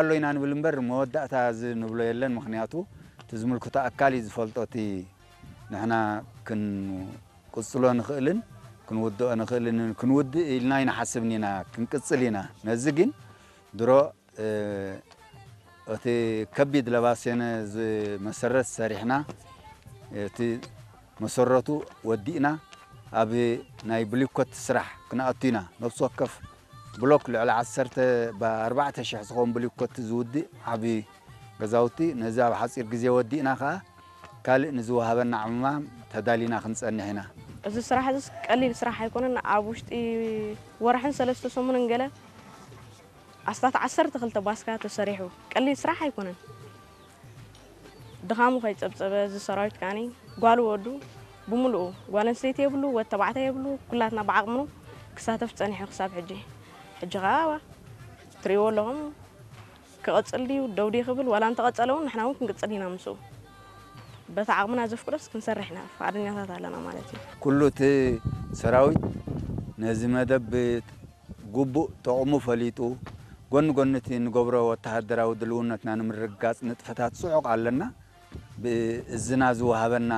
ኣሎ ኢና ንብል እምበር መወዳእታ እዚ ንብሎ የለን። ምኽንያቱ እቲ ዝምልክቶ ኣካል እዩ ዝፈልጦ። እቲ ንሕና ክንቅጽሎ ንኽእልን ክንውድኦ ንኽእልን ክንውድእ ኢልና ኣይንሓስብን ኢና፣ ክንቅጽል ኢና። ነዚ ግን ድሮ እቲ ከቢድ ለባሴነ ዝመሰረት ሰሪሕና እቲ መሰረቱ ወዲእና ኣብ ናይ ብሊኮት ስራሕ ክንኣቱ ኢና። ነፍሲ ወከፍ ብሎክ ልዕሊ ዓሰርተ ብኣርባዕተ ሽሕ ዝኸውን ብሊኮት ዝውድእ ዓቢ ገዛውቲ ነዚ ኣብ ሓጺር ግዜ ወዲእና ከኣ ካልእ ንዝወሃበና ዕማም ተዳሊና ክንጸንሕ ኢና። እዚ ስራሕ እዚስ ቀሊል ስራሕ ኣይኮነን። ኣብ ውሽጢ ወርሕን ሰለስተ ሰሙንን ገለ ኣስታት ዓሰርተ ክልተ ባስካ ተሰሪሑ። ቀሊል ስራሕ ኣይኮነን። ድኻሙ ከይጸብጸበ እዚ ሰራዊት ከዓኒ ጓል ወዱ ብምሉኡ፣ ጓል ኣንስተይቲ የብሉ፣ ወድ ተባዕታይ የብሉ፣ ኩላትና ብዓቕምኑ ክሳተፍ ጸኒሑ ክሳብ ሕጂ። ሕጂ ኸኣ ትርእይዎ ኣለኹም፣ ክቐጽል ድዩ ደው ድዩ ክብል፣ ዋላ እንተቐጸለ እውን ንሕና እውን ክንቅጽል ኢና ምስኡ። በቲ ዓቕምና ዘፍቅዶስ ክንሰርሕ ኢና፣ ፍቓደኛታት ኣለና ማለት እዩ። ኩሉ እቲ ሰራዊት ነዚ መደብ ግቡእ ጥቕሙ ፈሊጡ፣ ጎኒ ጎኒ እቲ ንገብሮ ወተሃደራዊ ድልውነትና ንምርግጋጽ ንጥፈታት ጽዑቕ ኣለና። ብእዝና ዝወሃበና፣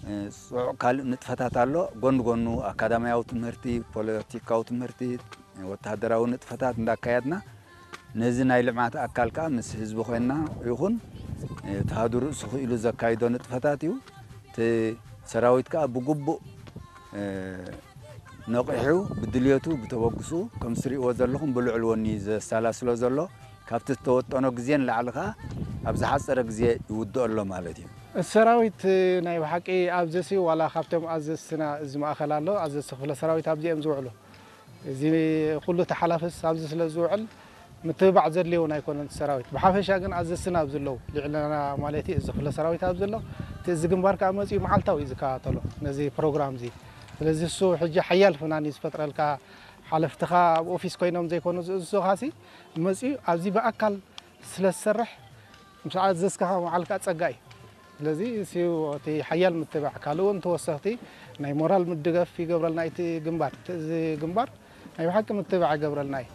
እ፣ ጽዑቕ ካልእ ንጥፈታት ኣሎ። ጎኒ ጎኑ ኣካዳሚያዊ ትምህርቲ፣ ፖለቲካዊ ትምህርቲ፣ ወተሃደራዊ ንጥፈታት እንዳካየድና ነዚ ናይ ልምዓት ኣካል ከኣ ምስ ህዝቢ ኮይንና ይኹን፣ እ፣ እቲ ሃዱ ርእሱ ክኢሉ ዘካይዶ ንጥፈታት እዩ። እቲ ሰራዊት ከኣ ብግቡእ፣ እ፣ ነቒሑ ብድልየቱ ብተበግሱ ከም ትርእይዎ ዘለኹም ብልዑል ወኒ ዘሰላስሎ ዘሎ ካብቲ ዝተወጠኖ ግዜ ንላዕሊ ከኣ ኣብ ዝሓጸረ ግዜ ይውድኦ ኣሎ ማለት እዩ። እቲ ሰራዊት ናይ ብሓቂ ኣብዚሲ ዋላ ካብቶም ኣዘዝትና እዚ ማእከል ኣሎ፣ ኣዘዝቲ ክፍለ ሰራዊት ኣብዚኦም ዝውዕሉ። እዚ ኩሉ ተሓላፍስ ኣብዚ ስለ ዝውዕል ምትብባዕ ዘድልዮ እውን ኣይኮነን እቲ ሰራዊት። ብሓፈሻ ግን ኣዘዝትና ኣብዚ ኣለዉ፣ ልዕለና ማለት እዩ፣ እዚ ክፍለ ሰራዊት ኣብዚ ኣሎ። እቲ እዚ ግንባር ከኣ መጺኡ መዓልታዊ እዩ ዝከታተሎ ነዚ ፕሮግራም እዚ። ስለዚ እሱ ሕጂ ሓያል ፍናን እዩ ዝፈጥረልካ። ሓለፍትኻ ኣብ ኦፊስ ኮይኖም ዘይኮኑ ዝእዝዙኻሲ መጺኡ ኣብዚ ብኣካል ስለ ዝሰርሕ ምስ ኣዘዝካኻ ምውዓል ከኣ ጸጋ እዩ። ስለዚ እሱ እቲ ሓያል ምትብባዕ፣ ካልእ እውን ተወሰኽቲ ናይ ሞራል ምድገፍ ይገብረልና እቲ ግንባር። እቲ እዚ ግንባር ናይ ብሓቂ ምትብባዕ ይገብረልና እዩ።